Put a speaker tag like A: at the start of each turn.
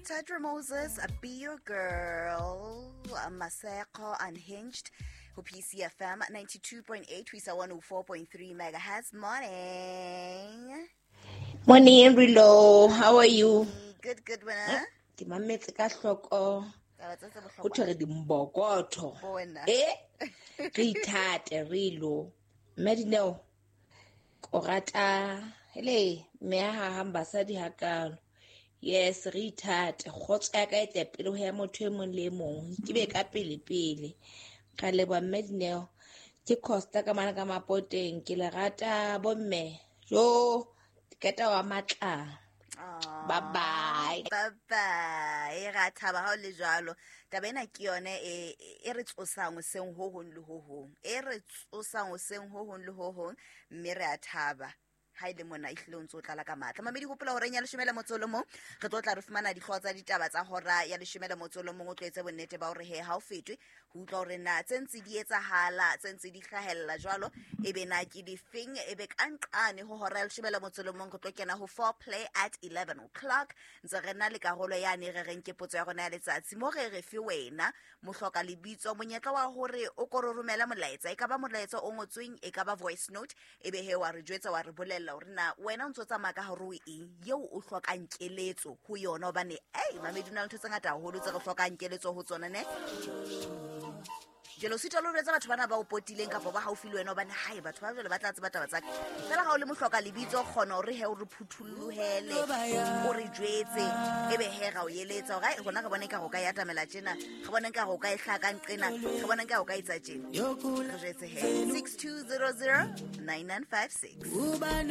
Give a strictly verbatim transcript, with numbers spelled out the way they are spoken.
A: Tadra Moses, Be Your Girl, Maseko Unhinged, ho P C F M ninety-two point eight, ho isa one oh four point three megahertz. Morning.
B: Morning, Rilo. How are you?
A: Good, good, winner.
B: Ke mametse ka hloko.
A: Taba tse tse bohlokwa.
B: Ho thwe re dimbokotho.
A: Bona.
B: Eh? Re ithate, Rilo. Mme Dineo, ko rata, hele, mme ha hahang basadi hakalo. Yes, re ithate. Kgotso ya ka e tle pele ho ya motho e mong le e mong. Ke be ka pele pele. Ka leboha mme Dineo. Ke Costa ka mane ka Mapoteng. Ke le rata bomme. Jo, ke qeta wa matla.
A: Aw.
B: Bye bye.
A: Bye bye. Ra thaba ha o le jwalo. Taba ena ke yone e, e re tsosang hoseng ho hong le ho hong. E re tsosang hoseng ho hong le ho hong, mme re a thaba. Ha e le mona ehlile o ntso tlala ka matla. Mamedi, hopola hore ya leshome le motso o le mong, re tlo tla re fumana dihlooho tsa ditaba tsa hora ya leshome le motso o le mong, o tlo etse bonnete ba hore he ha o fetwe ho utlwa hore na tse ntse di etsahala, tse ntse di hlahella jwalo, ebe na ke difeng, ebe ka nqane ho hora ya leshome le motso o le mong re tlo kena ho four play at eleven o'clock. Ntse re na le karolo yane re reng ke potso ya rona ya letsatsi, mo re re fe wena mohloka lebitso monyetla wa hore o ko re romele molaetsa, e ka ba molaetsa o ngotsweng, e ka ba voice note, ebe he wa re jwetsa wa re bolella hore na wena o ntso tsamaya ka hare ho eng eo o hlokang keletso ho yona, hobane ei mamedi, ho na le ntho tse ngata haholo tse re hlokang keletso ho tsona ne. Jwale o sitwa le ho jwetsa batho bana ba o potileng kapa ba haufi le wena, hobane hae batho ba jwale ba tla tseba taba tsa ka. Feela ha o le mohloka lebitso, kgona hore he o re phuthollohele, o re jwetse, ebe he ra o eletsa hore hai, rona re bona ekare o ka e atamela tjena, re bona ekare o ka e hlaka nqena, re bona ekare o ka etsa tjena. Re jwetse he, six two zero zero nine nine five six.